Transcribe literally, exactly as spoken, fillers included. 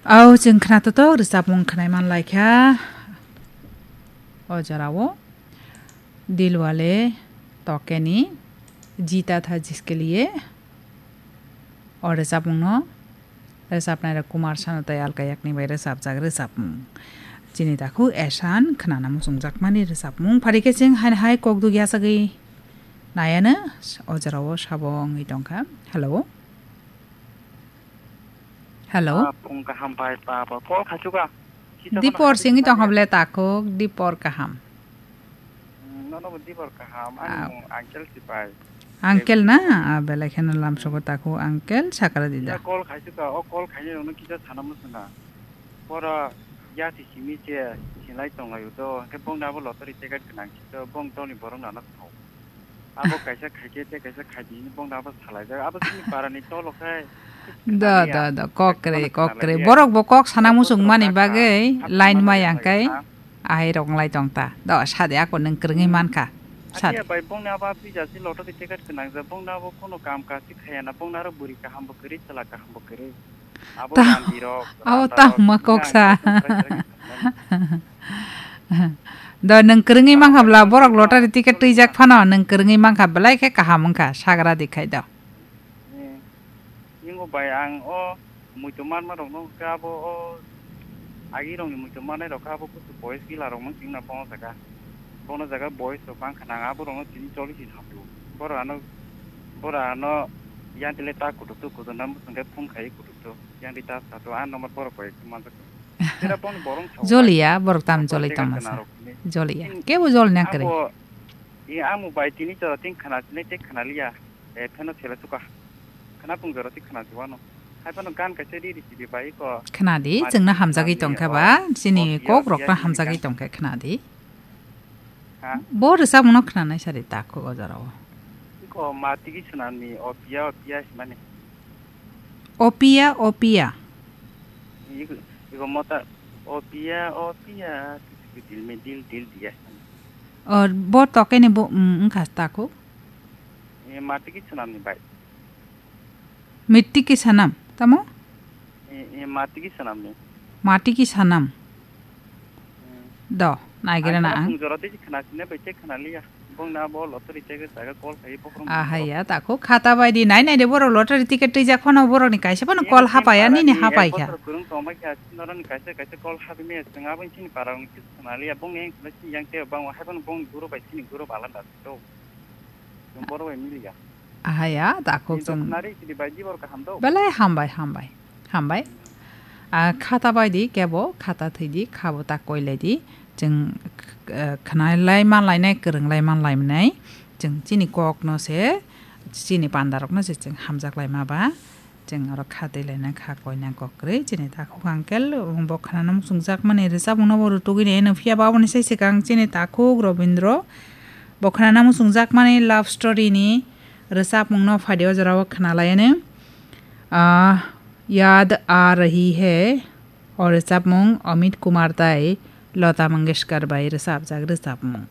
Au chwng khna totok rwchapmung khnai man lai kha o jorao. Dil wale tokeni jita tha jiske liye. O rwchapmungno rwchapnairok Kumar Sanu tei Alka Yagnik bai rwchapjak rwchapmung. Chini takhuk Esan khnana muchungjakmani rwchapmung. Phari khe chwng haino hai kok dugya sagwi naiano o jorao sabo wngwi tongkha. Hello. Hello. Ah, phung kaham bai pa ba. Call khaisukha. Kisa Dipor phano singwi tong khaisukha. Hable takhuk, Dipor kaham. Hmm, nono bo Dipor kaham. Ani Ah. mung Uncle si pai. Uncle na? Ah, belai kheno lamsogo takhuk, Uncle sakara dida. Kisa call khaisukha, o call khainai rokno kisa sana muchunga. Boro yati simi se sinlai tonglaio do. Hwnkhe bongni abo lottery ticket gwnang si do, bong toni borok nano thok. Abo kaisa khaikhe tei kaisa khaidi hwnwi bongno abo salaijak. Abo chini parani tolo khe Do, do, do, kokre, kokre. Borok bo kok sana muchung mani bagwi line maya hwnkhe ahai rok nglai tong ta. Do, sade ako nwng kwrwngwi mankha. Sade. Atiya bai bongni abo aphi jasi lottery ticket gwnang jak, bongno abo kono kam kachi khaya na, bongno aro bwrwi kaham bo kwrwi, chwla kaham bo kwrwi. Abo Ta-, randiro, abo randarok, tamo kok sa. Do nwng kwrwngwi mankha bla, borok lottery ticket twijak phano nwng kwrwngwi mankha, belai khe kaham wngkha, sagra di khai do. Eh, ingo bai ang o muitu manma rokno khe abo o agi rokni muitu manai rok khe abo kusu boys gila rokno chingna bono jaga. Bono jaga boys rok bang khna ang abo rokno chini choli si thamdu. Boro ano, boro ano yang tile ta kutuk tu kutuk nam bwswng khe phone khai kutuk tu. Yang di ta sa tu ang number borok bai manjak. Tera boni borong sa. Joliya, borok tam joli tongma sa. Joliya. Kebo jol nang kre. Abo, i amu bai tini chora tin khna sinai te khna liya. E pheno sela suka. Khna pung jora ti khna juano. Hai phano gan kaisa ri ri sibi bai ko. Khna di, chwngno hamjagwi tongkha ba, chini kok rok ta hamjagwi tongkha khna di. Ha? Bo rwchapmungno khnanai sari takhuk o jorao. Iko matigi swnamni, o piya, o piya himani. O piya, o piya. Iko, iko mota, o piya, o piya, dil me dil, dil diya. O, bo tokeni bo, mm, wngkha takhuk. E, matigi swnamni bai. Mitiki sanam, tamo? E, e, matigi sanamni. Matiki sanam. Hmm. Do, naigira na ang. Jora tei khna sine bai tei khna liya. Bong na bo lottery tei jaga call khai bokrong. Ahaya, takhuk khata bai di, nai nai de borok lottery ticket twijak phano borok ni kaisa phano call hapaya, nini hapai kha. Kurung tongma kha, norani kaisa kaisa call habi me, sing abon chini para ni khna liya, bong ni yang te bang hai phano bong guru bai chini guru balan da to. Borok bai miliya. Ahaya, takhuk chwng. Belai hambai, hambai, hambai. Ah, khata bai di, kebo khata thwi di, khabo ta koi lai di. Chwng, eh, khna lai man lainai, kwrwng lai man lainai. Chwng chini kok no se, chini panda rok no se chwng hamjak lai ma ba. Chwng oro kha twi laina kha koina kokrwi chini takhuk uncle bo khnana muchungjak mani rwchapmung no bo rwtugwi naino phiya ba aboni sai swkang chini takhuk Robindro bo khnana muchungjak mani love story ni rwchapmung no phaidi o jora o khna lai ani. Ah, Yaad Aa Rahi Hai o rwchapmung Amit Kumar tai Lata Mangeshkar bai rwchapjak rwchapmung.